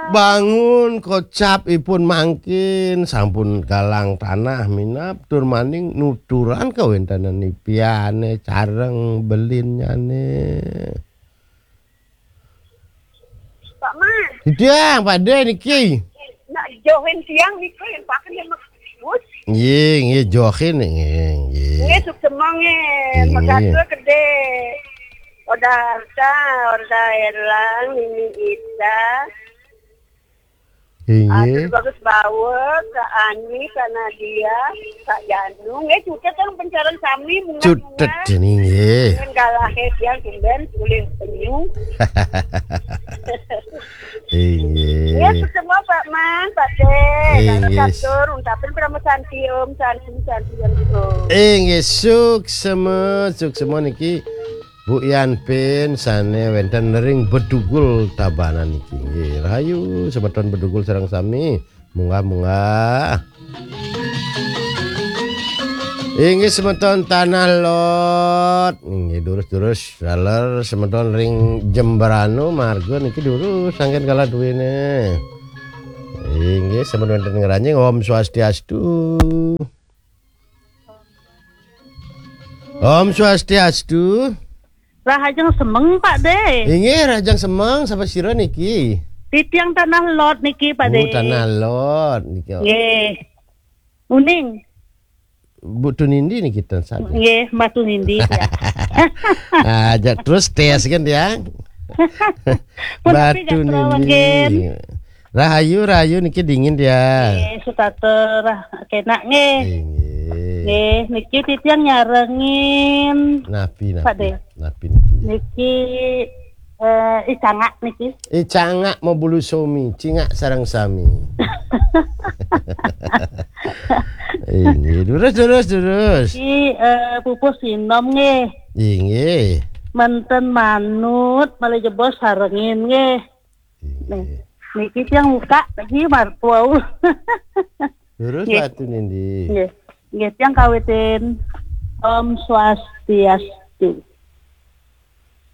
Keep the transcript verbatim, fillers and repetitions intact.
Bangun kocap ipun mangkin, sampun galang tanah minab, tur maning nuturan kawéntenan ipiané sareng belinnyané. Pak Mas. Titiang, Pak Dé niki. Nak johin tiang niki yang pakai dia Mas. Nggih, nggih, johin nggih, nggih. Nggih, suksema nggih. Nggih. Megatur gedé. Oda Arta, Oda Erlang, Nini Ita. Inggih. Atur Bagus Bawa, Kak Ani, Kak Nadia, Kak Janu. Nggih, cutet kan pencaran sami, munggah, cutet munggah. Ini nggih. Dengan galahé tiang tumben ulih penyu. Inggih. Nggih, semua Pak Man, Pak Dé. Inggih. Katur, untapin Parama Santi, Om Santi, Santi, Santi, Om. Inggih, suksema, suksema niki. Bu Yan Pin sané wénten ring Bedugul Tabanan niki. Nggih, rahayu semeton Bedugul sareng sami. Munggah, munggah. Inggih semeton Tanah Lot. Inggih durus-durus taler semeton ring Jembrana marga niki durus sangkan kala duwéné. Inggih semeton wénten Ngranjing, Om Swastiastu. Om Swastiastu. Rahajeng semeng, Pak Dé. Inggih, rahajeng semeng, sapa sira niki? Titiang Tanah Lot niki, Pak Dé. Oh, Tanah Lot niki. Nggih. Uning. Bu Tunindi niki ten sadé. Nggih, Mbak Tunindi, ya. Aja terus tes kan, ya. Pun Mbak tapi gak Tunindi. Rahayu, rahayu niki dingin dia. Nggih, setata rah-, kenak nggih. Inggih. Nggih, niki titiang nyarengin. Napi, napi? Pak Dé. Napi niki? Niki, eh, icangak niki. Icangak mau bulu somi, cingak sarang sami. Inggih, terus, terus, terus. Niki, eh, pupuh sinom nggih. Inggih. Menten manut, malih jebos sarengin nggih. Nih, niki tiang buka lagi martuau. Terus nggih. Batu nindi. Nggih. Nggih, tiang kawitin. Om Swastiastu.